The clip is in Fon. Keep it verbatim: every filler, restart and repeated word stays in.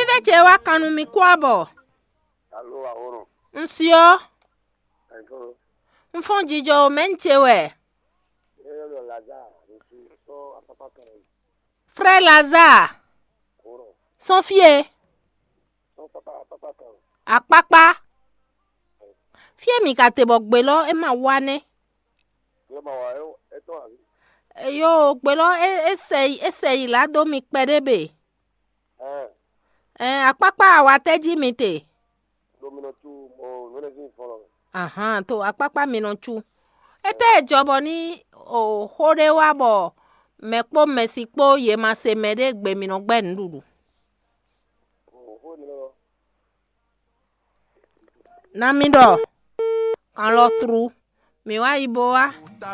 Fífɛ́ ce wá kan nú mì kú abɔ. Alo, ahoro. Un syɔ. Ɛnfɔ. Un fɔ́n jijɔ o, mɛ̌ un ce wɛ? Yɛyɛ lɔ Lazare, ɖo sɔ apapa kan. Frère Lazare. Ahoro. Sɔ́n fie. Sɔ papa, papa kan. Akpakpa. Fie mi ka te bɔ gbe lɔ é ma wá nɛ́. Yɛ ma wá, ɛ, ɛtɔn abi. Eyo, gbe lɔ é é sɛ yi é sɛ yi lá dó mi kpɛɖé be. Ɛn. Ɛn, akpakpa awatɛ́ jí mi te. Ɖo mi nɔ cu mo nɔnɛzin fɔlɔ. Ahan, to akpakpa mi nɔ cu. Étɛ́ e jɔ bɔ ní o xó ɖé wá bɔ mɛ kpó mɛsi kpó yě ma se mɛ ɖé gbe mi nɔ gbɛ́ nǔɖuɖu. O xó nínú lɔ. Na mi ɖɔ kan lɔ tru, mi wá yi bo wá.